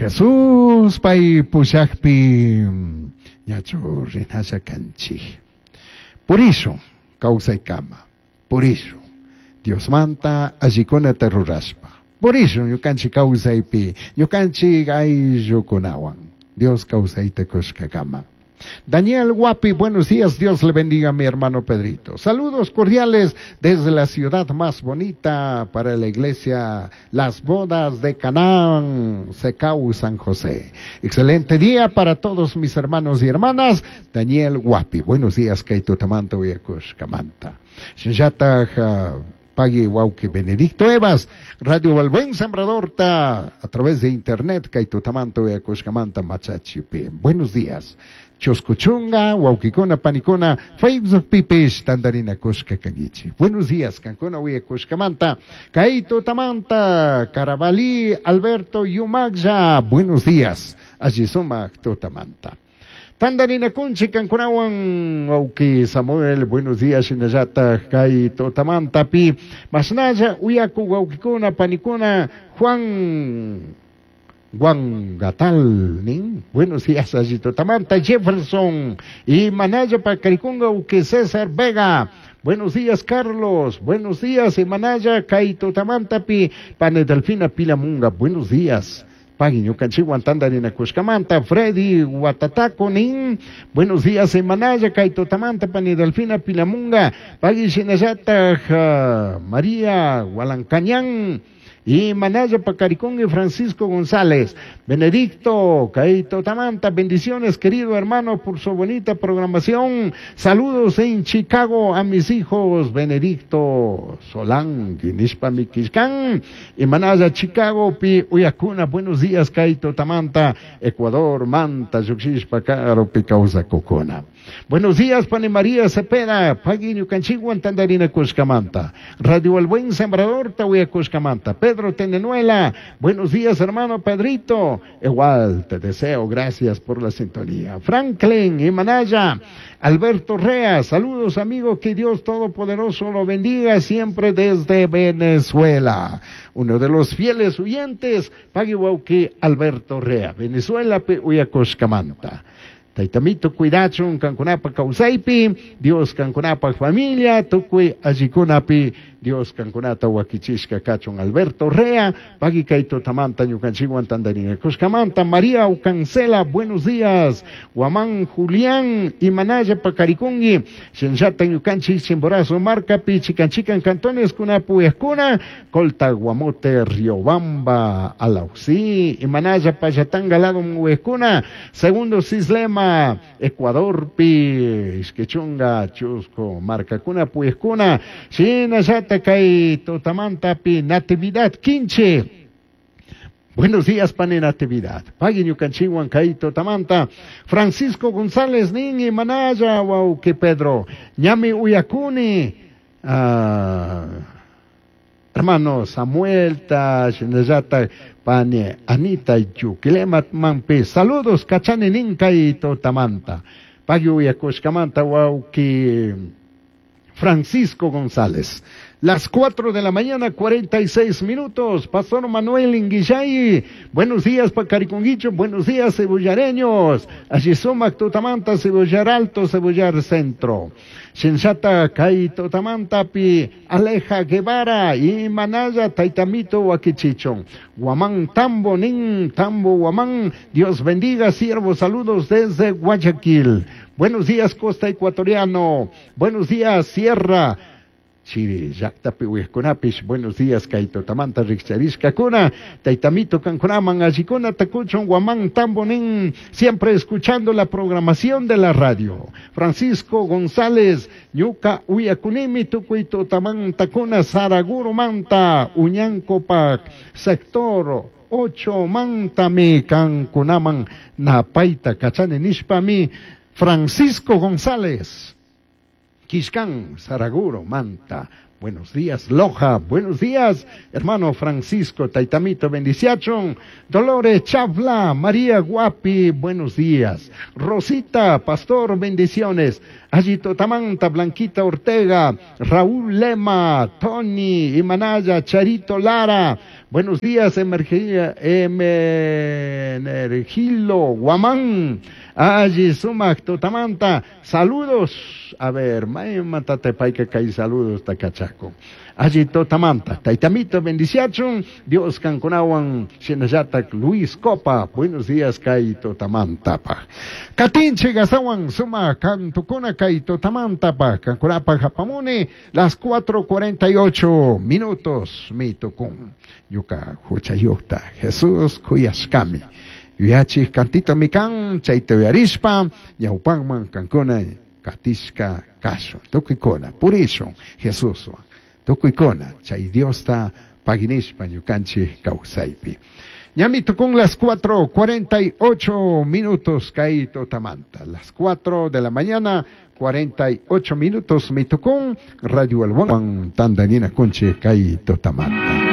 Jesús pay pushakpi ñachu rinalla kanchik. Purishun kawsaykama, purishun Diosmanta allikunata rurashpa. Purishun ñukanchik kawsaypi, ñukanchik ayllukunawan. Dios kawsayta kushkakama. Daniel Guapi, buenos días, Dios le bendiga mi hermano Pedrito. Saludos cordiales desde la ciudad más bonita para la iglesia, las bodas de Canaán, Secau, San José. Excelente día para todos mis hermanos y hermanas. Daniel Guapi, buenos días, Kaito Tamanta, Uyakushkamanta. Shinllataj Pagui Wauki Benedicto Evas, Radio El Buen Sembrador ta, a través de internet, Kaito Tamanto, Uyakushkamanta, Machachipi. Buenos días. Chuskuchunga, Waukikuna, Panikuna, Facebook Pipish, Tandarina Kushka Kangichi. Buenos días, Kankuna, Uyakushkamanta, Kaito Tamanta, Carabalí, Alberto Yumagya. Buenos días, allí sumak Tutamanta. Tandarina Kunchi, Kankunawan, Wauki Samuel, buenos días, Shinallata, Kaito Tamanta, Pi, Masnaya, Uyaku, Waukikuna, Panikuna, Juan Guangatal, nin. Buenos días, Allito Tamanta, Jefferson y Manaya Pacarikunga, Uque César Vega. Buenos días, Carlos. Buenos días, Manaya, Kaito Tamanta, Pi, Pane Delfina Pilamunga. Buenos días. Pagui ñukanchikwan tandarina kushkamanta, Freddy Guatataco, nin. Buenos días, Manaya, Kaito Tamanta, Pani Delfina Pilamunga, Pagui Shinallata, María Gualancañán, y Manaya Pacaricón y Francisco González. Benedicto, Kaito Tamanta, bendiciones, querido hermano, por su bonita programación. Saludos en Chicago a mis hijos, Benedicto Solán, Guinishpa Miquiscán, y Manaya, Chicago, Pi Uyacuna, buenos días, Kaito Tamanta, Ecuador, Manta, Yuxishpa, Caro, Picausa, Cocona. Buenos días, Pani María Cepeda, Paguiño Canchiguan, Tandarina Cuscamanta, Radio El Buen Sembrador, Tahuía Cuscamanta, Pedro Tenenuela, buenos días, hermano Pedrito, igual te deseo, gracias por la sintonía. Franklin y Manaya, Alberto Rea, saludos amigo, que Dios Todopoderoso lo bendiga siempre desde Venezuela. Uno de los fieles oyentes, Paguihuauqui, Alberto Rea, Venezuela, Uyacoscamanta. Taitamito cuidachun kankunapa kawsaypi, Dios kankunapa familia, tukuy allikunapi, Dios kankunata wakichishka kachun Alberto Rea, Pagui Kaito Tamanta, ñukanchikwan tandarina Kushkamanta, María Ucancela, buenos días, Guamán Julián, Imanaya Pacarikungi, Shenshata ñukanchik Chimborazo, Marcapi, Chicanchican Cantones, Kunapu Escuna, Colta Guamote, Riobamba, Alauxí, Imanaya Payatanga, Lado Muescuna, Segundo Cislema, Ecuador Pi, Isquechunga, Chusco, Marcacuna, Puescuna, Shinayata, Kay, Totamanta, Pi, Natividad, Quinche. Buenos días, pane Natividad. Pagui ñukanchikwan kay Totamanta. Francisco González, Nini, Manaya, Wauki Pedro. Ñami Uyakuni. Hermano Samuel, ta, Shinayata, pane Anita, Yukilemat, Mampi. Saludos, Kachani, Ninka y Totamanta. Pagui Uyakushkamanta, Wauki Francisco González. Las 4 de la mañana, 46 minutos. Pastor Manuel Inguillay. Buenos días, Pacariconguicho. Buenos días, cebollareños. Allí sumac, Tutamanta, Cebollar Alto, Cebollar Centro. Shinshata, Kai, Tutamanta, Pi, Aleja Guevara, y Manaya, Taitamito, Huaquichichón. Guamán, Tambo, Nin, Tambo, Guamán. Dios bendiga, siervo. Saludos desde Guayaquil. Buenos días, Costa Ecuatoriano. Buenos días, Sierra. Chiri, llaqtapi uyaqkunapish, buenos días, kay tutamanta rikcharishkakuna, taytamito kankunaman allikuna takuchun Guamán Tambonín, siempre escuchando la programación de la radio. Francisco González, ñuka uyakunimi tukuy tutamantakuna Saraguro Manta, Uñancopac, sector 8 Mantami kankunaman napayta kachani nishpami, Francisco González. Quiscán, Saraguro, Manta. Buenos días, Loja. Buenos días, hermano Francisco, Taitamito, bendiciachón. Dolores Chavla, María Guapi, buenos días. Rosita, Pastor, bendiciones. Allito Tamanta, Blanquita Ortega, Raúl Lema, Tony, Imanaya, Charito Lara. Buenos días, Emergilo Guamán. Alli sumak tutamanta. Saludos. A ver, matate paika kay saludos takachaco. Alli tutamanta. Taitamito bendiciachun. Dios kankunawan shinallatak Luis Copa. Buenos días kay tutamanta pa. Katinche gasawan suma kantukuna kay tutamanta pa. Kankunapa japamuni las 4:48 minutos mitukun. Yuka huchayukta Jesús kuyashkami. Yuyachik kantito mikan chayta uyarishpa ñawpanman kankuna katishka kashun. Tukuykuna purishun Jesuswan. Tukuykuna chay Diosta paginishpa ñukanchik kawsaypi. Ñami tukun las 4:48 minutos kay tutamanta. Las 4 de la mañana 48 minutos mitukun Radio Alwan tandanina kunchi kay tutamanta.